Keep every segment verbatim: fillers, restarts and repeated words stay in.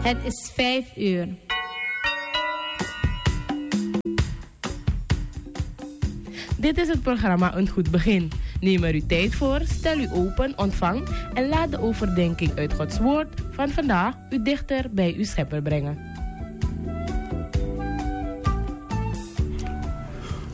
Het is vijf uur. Dit is het programma Een Goed Begin. Neem er uw tijd voor, stel u open, ontvang en laat de overdenking uit Gods Woord van vandaag u dichter bij uw Schepper brengen.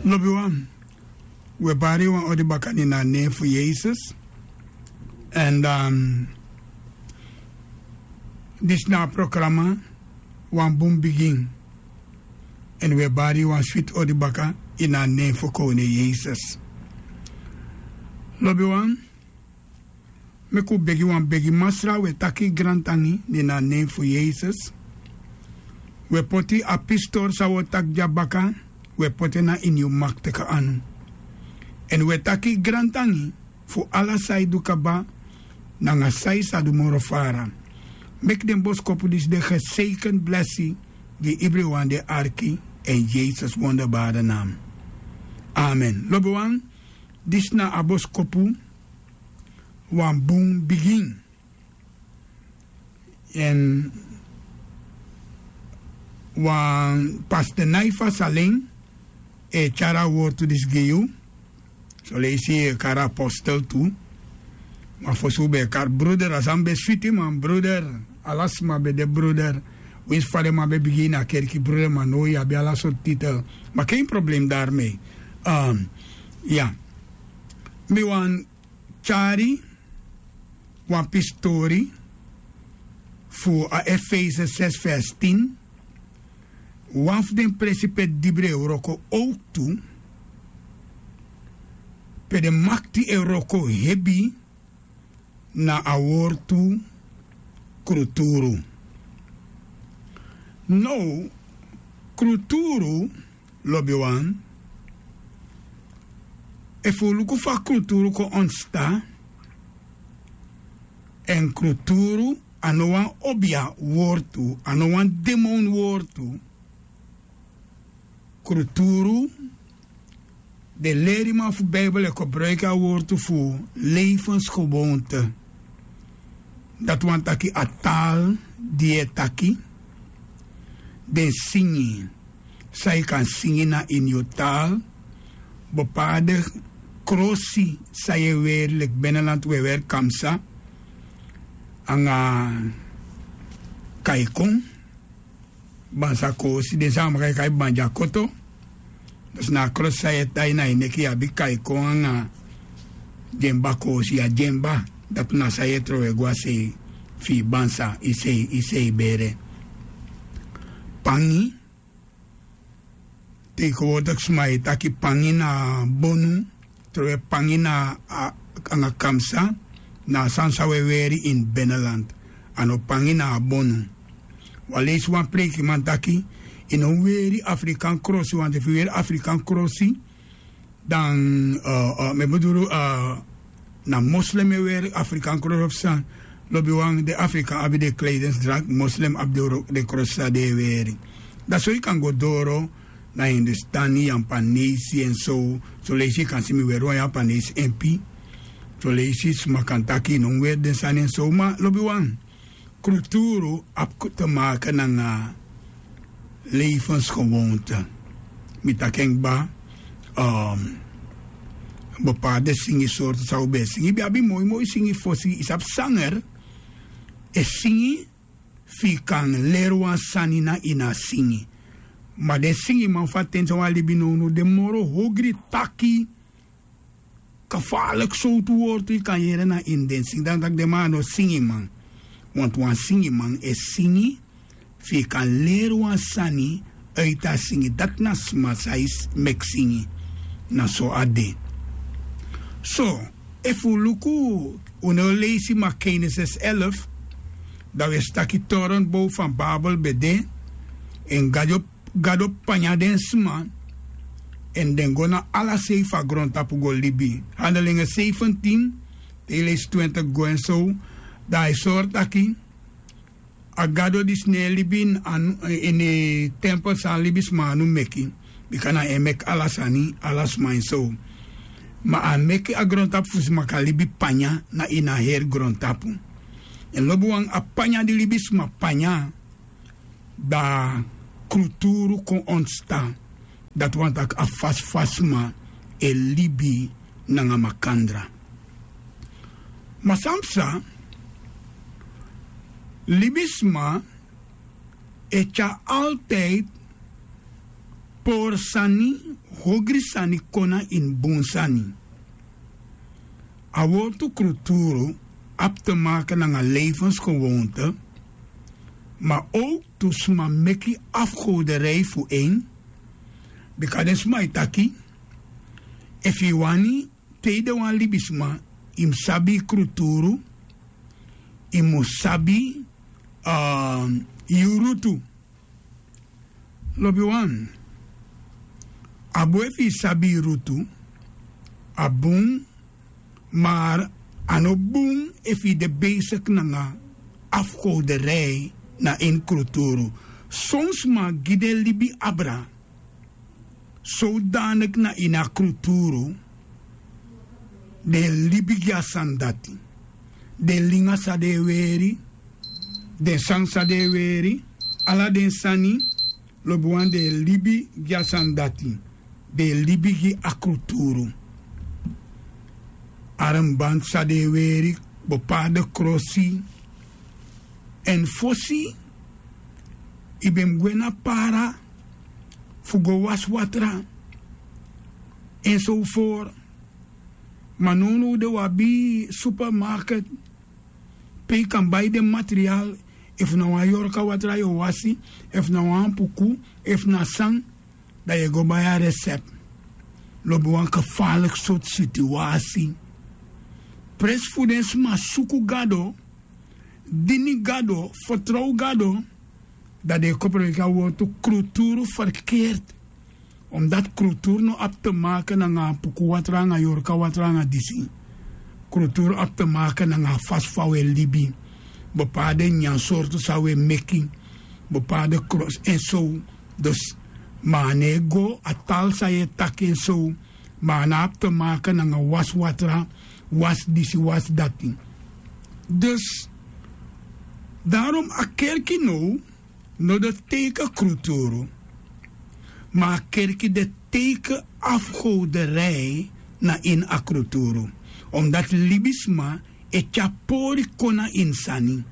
Lobiwan, we bari wan odi baka ini a nen fu Yesus. En dan, disi na a programa, Wan Bun Bigin. En we bari wan switi odi baka ini a nen fu Koning Yesus. Lobiwan, meki un begi wan begi. Masra, we taki grantangi ini a nen fu Yesus. We poti a pistori san we o taki dya baka, we poti en na ini yu maktikan anu. En we taki grantangi fu ala san yu du kaba, nanga san yu sa du moro fara. Meki den boskopu disi de geseikenti blesi gi ibriwan di e arki, ini Yesus wonderbare naam. Amen. Lobiwan, disi na a boskopu, Wan Bun Bigin. En wan pastor Naifa Salen e tyari a wortu disi gi yu. Soleisi yu e kari apostel tu. Ma fosi un ben e kari bruder, a sani ben switi, man, bruder. Ala sma ben de bruder. Winsi fa den man ben bigin ini a kerki bruder, ma now yu abi ala sortu titel. Ma geen probleem daarmee. Ehm, ya. Mi wani tyari wan pisi tori fu a Efese zes vers tien. Wan fu den presi pe dibri e wroko owktu, pe den makti e wroko hebi, na a wortu kruturu. Now, kruturu, lobiwan, efu un luku fa kruturu kon ontstaan, en kruturu a no wan obia wortu, a no wan demon wortu. Kruturu, den leriman fu Bijbel e gebruiki a wortu fu levensgewoonte. Dati wani taki a taal di yu e taki, den singi san yu kan singi na ini yu taal, bepaalde krosi san yu e weri, leki binnenland un e weri kamsa anga kaikon, bansa kosi, den san a maka e kai bandyakoto. Dus na a krosi san yu e tai na yu neki, yu abi kaikon anga dyemba kosi, ya dyemba. Dati na san yu e trowe go a sei fu yu bansa, yu sei, yu sei bere. Pangi, tegenwoordig sma e taki pangi na bonu, trowe pangi na a, anga kamsa, na a sani san un e weri ini binnenland. A no pangi, na a bonu. Wan leisi wan preikiman taki, yu no weri Afrikan krosi, want efu yu weri Afrikan krosi, dan, eh, eh, mi e bedoel, eh, na moslim e weri Afrikan krosi of san. Lobiwan, den Afrikan abi den kleidensdracht, moslim abi den wro-, den krosi san den e weri. Dan so yu kan go doro na Hindustani, Yapanesi en so. Soleisi yu kan si mi weri wan Yapanesi empi. Soleisi sma kan taki yu no weri den sani en so. Ma lobiwan, kruturu abi te maken nanga levensgewoonte. Mi taki en kba, ehm, bepaalde singi sortu san un ben e singi. Yu ben abi moi moi singi fosi, yu sabi, sanger e singi fu yu kan leri wan sani na ini a singi. Ma den singiman fu a ten san wi e libi nownow, den moro ogri taki, gevaarlijk sowtu wortu yu kan yere na ini den singi. Dan taki den man a no singiman. Want wan singiman e singi fu yu kan leri wan sani uit a singi. Dati na sma san e meki singi. Na so a de. So, efu un luku, un no leisi ma Genesis elf, dan wi e si taki torenbow van Babel ben de, en Gado Gado panya den sma, en den go na ala sei fu a grontapu go libi. Handelingen zeventien, te yu leisi twintig go en so, dan a e sori taki a Gado disi no e libi ini, ini tempel san libisma anu meki, bika na en meki ala sani, ala sma en so. Ma a meki a grontapu fu sma kan libi panya na ini a heri grontapu. En lobiwan, a panya di libisma panya, Da kruturu kon ontstan. Dati wani taki a fasi fu a sma e libi nanga makandra. Ma san psa, libisma e tyari altidi pori sani, hogri sani kon na ini bun sani. A wortu kruturu abi te make nanga levensgewoonte. Ma owktu sma meki afgoderij fu en. Bika den sma e taki, efu yu wani tei de wan libisma, yu mus sabi yu kruturu, yu mus sabi yu rutu. Lobiwan, a bun efu yu sabi yu rutu, a bun. Mar a no bun efu yu de besik nanga afgoderij na ini kruturu. Son sma gi den libi abra, sodanik na ini a kruturu den e libi gi a sani dati. Den linga san den e weri, den sani san den e weri, ala den sani. Lobiwan, den e libi gi a sani dati. Den e libi gi a kruturu. Armbanti san den e weri, bepaalde krosi. Èn fosi yu ben mus gwe na para fu go wasi watra, èn so for. Ma nownow de wi abi supermarket pe yu kan bai den material. Efu na wan yorka watra yu o wasi, efu na wan ampuku, efu na san, dan yu e go bai a resept. Lobi wan gefarliki sortu situasi. Presi fu den sma suku Gado, dini Gado, fertrow Gado, dan den e koperliki a wortu kruturu ferkeert. Omdati kruturu no abi te make nanga ampuku watra nanga yorka watra nanga disi. Kruturu abi te make nanga a fasi fa wi e libi, bepaalde nyansortu san wi e meki, bepaalde krosi èn so. Dus ma a no e go a tal san yu e taki èn so. Ma a no abi te make nanga wasi watra, wasi disi, wasi dati. Dus darom a kerki now no de teiken kruturu. Ma a kerki de teiken afgoderij na ini a kruturu. Omdati libisma e tyari pori kon na ini sani.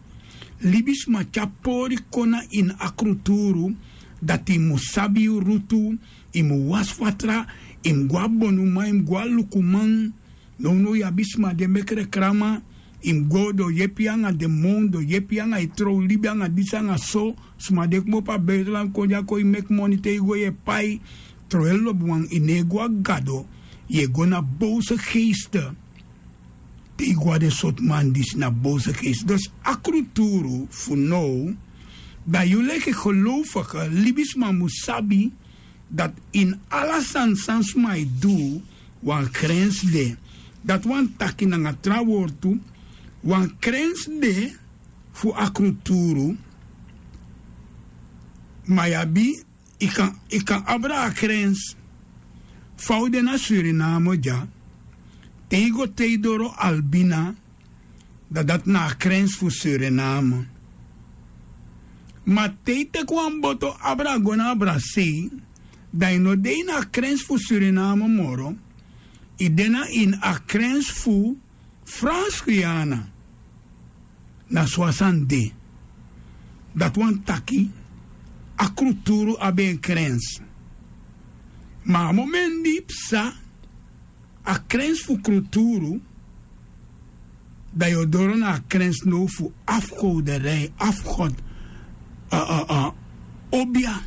Libisma tyari pori kon na ini a kruturu. Dati yu mus sabi yu rutu, yu mus wasi fatra, yu mus go na bonuman, yu mus go na lukuman. Nownow yu abi sma di e meki rekrama. Yu mus go, den o yepi yu nanga demon, den o yepi yu nanga yu trow libi nanga disi nanga so. Sma di e kmopo a buitenland kon dya kon e meki moni, te yu go yu e pai. Trowel lobiwan, yu no e go na Gado, yu e go na bowse geeste. Te yu go na den sortu man disi na bowse geeste. Dus a kruturu fu now, dan yu leki gelowfige libisma mus sabi dati ini ala sani san sma e du, wan grensi de. Dati wani taki nanga tra wortu, wan grensi de fu a kruturu. Ma yu abi, yu kan, yu kan abra a grensi. Fa un de na Suriname dya, te yu go te yu doro Albina, dan dati na a grensi fu Suriname. Ma te yu teki wan boto abra go na Abrasei, dan yu no de ini a grensi fu Suriname moro. Yu de na ini a grensi fu Frans Guyana. Na so a sani de. Dati wani taki a kruturu abi en grensi. Ma a momenti di yu psa a grensi fu kruturu, dan yu o doro na a grensi now fu afgoderij, afgod, a, a, a, obia.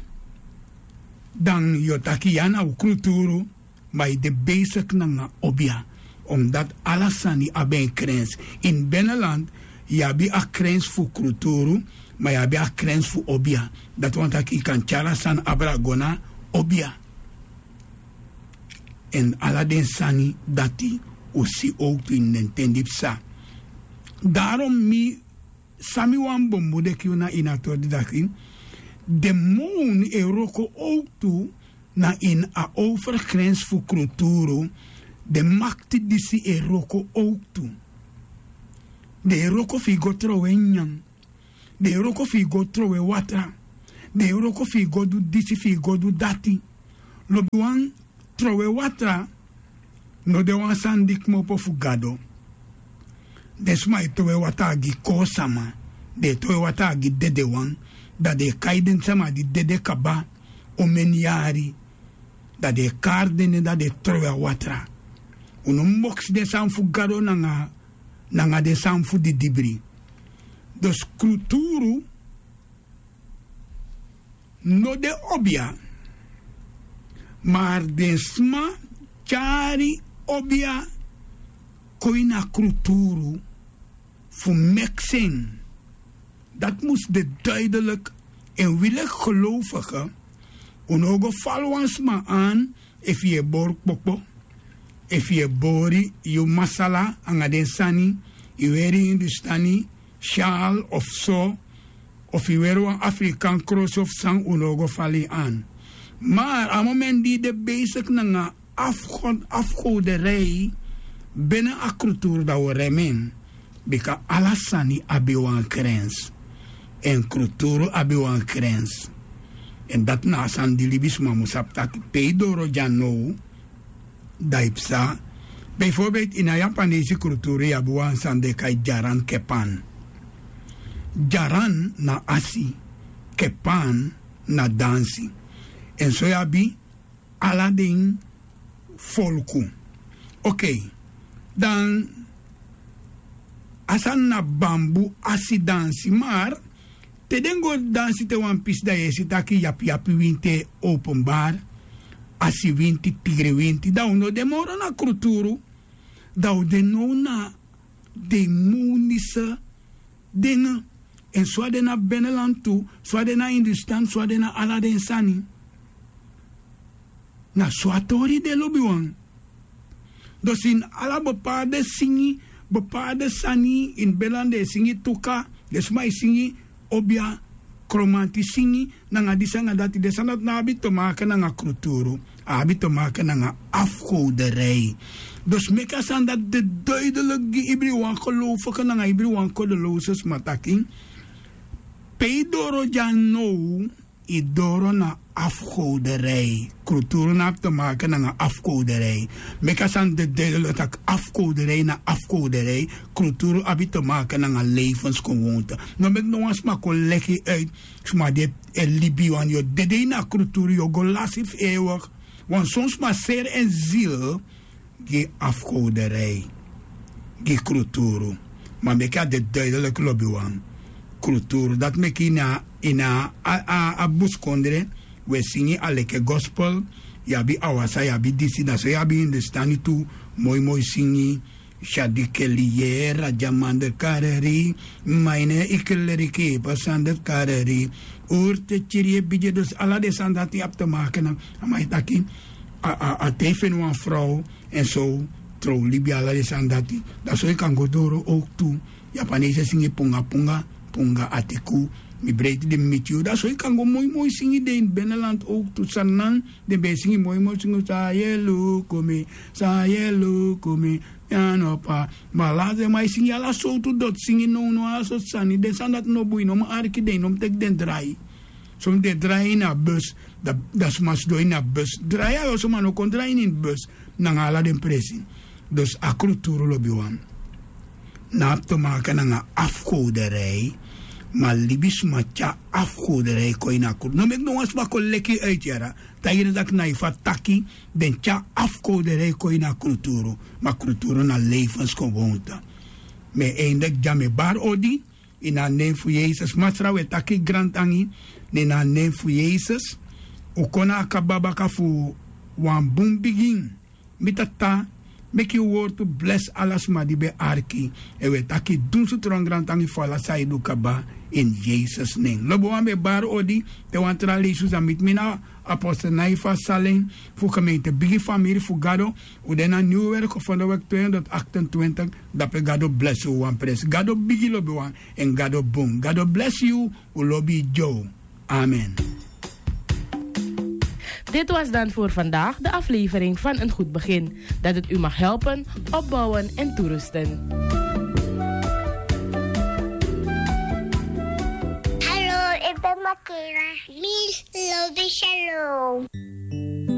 Dan yu o taki ya na un kruturu, ma yu de besik nanga obia. Omdati ala sani abi en grensi. Ini beneland yu abi a grensi fu kruturu, ma yu abi a grensi fu obia. Dati wani taki yu kan tyari a sani abra go na obia. Èn ala den sani dati un si owktu ini den ten di psa. Darom mi, san mi wani bemudeki unu na ini a tori disi taki, demon e wroko owktu na ini a overgrensi fu kruturu. Den makti disi e wroko owktu. Den e wroko fu yu go trowe nyanyan. Den e wroko fu yu go trowe watra. den e wroko fu yu go du disi, fu yu go du dati. Lobiwan, trowe watra no de wan sani di kmopo fu Gado. Den sma e trowe watra gi koosama, den e trowe watra gi dedewan. Dan den e kai den sama di dede kaba omeni yari, dan den e kari den nen, dan den e trowe a watra. Un no moksi den sani fu Gado nanga, nanga den sani fu didibri. Dus kruturu no de obia, maar den sma tyari obia kon ini a kruturu fu meki en. Dati mus de duidelijk. En wi leki gelovigen, un no o go fali wan sma aan efu yu e bori kpokpo, efu yu e bori yu masala anga den sani, yu weri hindustani syaal of so, of yu weri wan Afrikaan krosi of san, un no o go fali yu aan. Maar a moment di yu de bezig nanga afgo-, afgoderij binnen a kruturu, dan un o rem en. Bika ala sani abi wan grens. En kruturu abi wan grens. En dati na a sani di libisma mus sabi taki pe yu doro dya now, dan yu psa. Bijvoorbeeld ini a Yapanesi kruturu yu abi wan sani den e kai dyaran kepan. Dyaran na asi, kepan na dansi. En so yu abi ala den folku. Okei, dan a sani na bambu asi dansi, maar te den go dansi te wan pisi, dan yu e si taki yapiyapi winti e openbaar, asi winti, tigri winti, dan un no de moro na kruturu, dan un de now na demonische dingen. En so a de na binnenland tu, so a de na Hindustan, so a de na ala den sani. Na so a tori de, lobiwan. Dus ini ala bepaalde singi, bepaalde sani, ini binnenland den e singi tuka, den sma e singi obia, kromanti singi, nanga disi anga dati, den sani dati no abi te maken nanga kruturu. A abi te maken nanga afgoderij. Dus meki a sani dati de duidelijk gi ibriwan gelovige nanga ibriwan kodeloze sma taki pe yu doro dya now, yu doro na afgoderij. Kruturu no abi te maken nanga afgoderij. Meki a sani de duidelijk taki afgoderij na afgoderij. Kruturu abi te maken nanga levensgewoonte. No meki no wan sma kon leki yu uit sma di e libi, want yu o dede ini a kruturu, yu o go lasi fu eeuwig. Want son sma seri en ziel gi afgoderij, gi kruturu. Ma meki a de duidelijk, lobiwan. Kruturu, dati meki ini a, ini a, a, a buskondre, wi e singi a leki gospel, yu abi awasa, yu abi disi, dan so yu abi Hindustani tu, moi moi singi, Shadi ke liye raja mandar karari, maine ikleri ki pasandar karari. Urte chiri e bidye, dus ala den sani dati abi te maken nanga, a man e taki, a, a, a te yu feni wan frow, en so, trow libi, ala den sani dati. Dan so yu kan go doro ook tu. Yapanese singi punga punga, punga atiku, mi breiti di mi miti yu. Dan so yu kan go moi moi singi den ini binnenland ook tu, Saanan, den ben e singi moi moi singi, sa yelu kumi, sa yelu kumi. Ya no pa, ma ala den man e singi ala sowtu doti singi nownow, ala sortu sani. Den sani dati no bun, yu no mu arki den, yu no mu teki den drai. Son den drai ini a bus, dan, dan sma sidon ini a bus. Drai a yu, son man no kon drai ini bus nanga ala den presi. Dus a kruturu, lobiwan, no abi te maken nanga afgoderij, ma libisma tyari afgoderij kon ini a kruturu. No meki no wan sma kon leki yu uit, yara. Taigi den taki na yu fu a taki, den tyari afgoderij kon ini a kruturu, ma kruturu na levensgewoonte. Mi e eindig dya, mi e bari odi ini a nen fu Yesus. Masra, wi e taki grantangi, na ini a nen fu Yesus. Un kon na a kaba baka fu wan bun bigin. Mi Tata, meki yu wortu blesi ala sma di ben arki. Èn wi e taki dunsu tron grantangi fu ala san yu du kaba, ini Yesus nen. Lobiwan, mi e bari odi, te wan tra leisi un sa miti mi na Apostel Naifa Salen fu gemeente Bigi Famiri fu Gado. Un de na Nieuwwerk Gevonden Weg tweehonderd achtentwintig. Dape Gado blesi un wan presi. Gado bigi, lobiwan, èn Gado bun. Gado blesi yu, un lobi yu. Amen. Dit was dan voor vandaag de aflevering van Een Goed Begin. Dat het u mag helpen, opbouwen en toerusten. Hallo, ik pe makela. Mil.